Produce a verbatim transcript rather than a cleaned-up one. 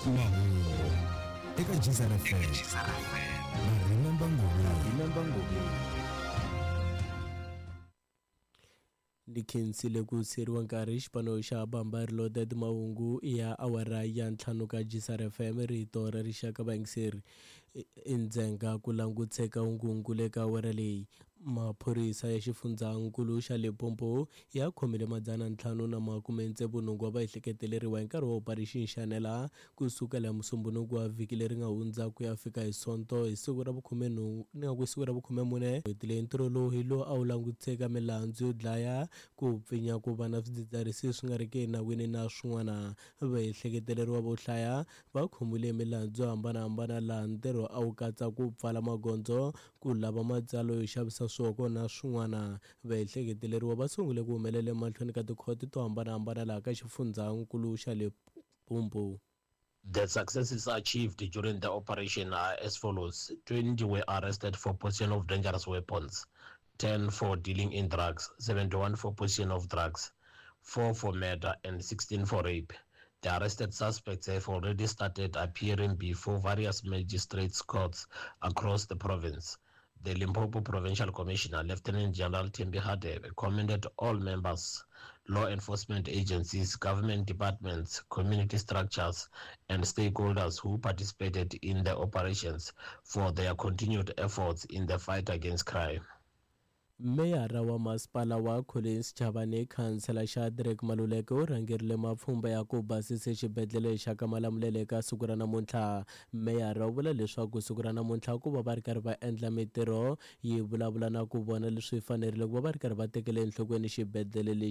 Mahungu eka Geyser F M na Remember Ngobeni. Ndi khensile ku siyeriwa nkarhi. Xipano xa Bamba Reloaded, mahungu ya awara ya ntlhanu ka Gisar F M, rito ra rixaka. Vayingiseri, endzhenga ku languteka hungungu le ka awara leyi. Maphorisa ya xifundzankulu xa Limpopo ya khomile madzana ntlhanu na makume tsevu nhungu wa vaehleketeleriwa hi nkarhi wa Operation Shanela, kusukela hi Musumbunuku wa vhiki leri nga hundza ku ya fika hi Sonto hi siku ra vukhume nhungu, ni nga ku siku ra vukhume mune n'hweti leyi. Ntirho lowu hi lowu a wu languteka milandzu yo dlaya, ku pfinya, ku va na swidzidziharisi swi nga ri ki enawini na swin'wana. Vaehleketeleriwa vo hlaya va khomiwile milandzu yo hambanahambana, laha ntirho a wu katsa ku pfala magondzo, ku lava matsalo yo xavisa swihoko na swin'wana. Vaehleketeleriwa va sungule ku humelela emahlweni ka tikhoto to hambanahambana laha ka xifundzankulu xa Limpopo. The successes achieved during the operation are as follows: twenty were arrested for possession of dangerous weapons, ten for dealing in drugs, seventy-one for possession of drugs, four for murder, and sixteen for rape. The arrested suspects have already started appearing before various magistrates' courts across the province. The Limpopo Provincial Commissioner, Lieutenant General Thembi Hadebe, commended all members, law enforcement agencies, government departments, community structures, and stakeholders who participated in the operations for their continued efforts in the fight against crime. Meyara wa masipala wa Collins Chabane, khansela Shadrack Maluleke, u rhangerile mapfhumba ya ku basisa xibedhlele xa ka Malamulele eka siku ra namuntlha. Meyara u vula leswaku siku ra namuntlha ku va va ri karhi va endla mitirho yi vulavula na ku vona leswi fanerile ku va va ri karhi va tekele enhlokweni xibedhlele lexi.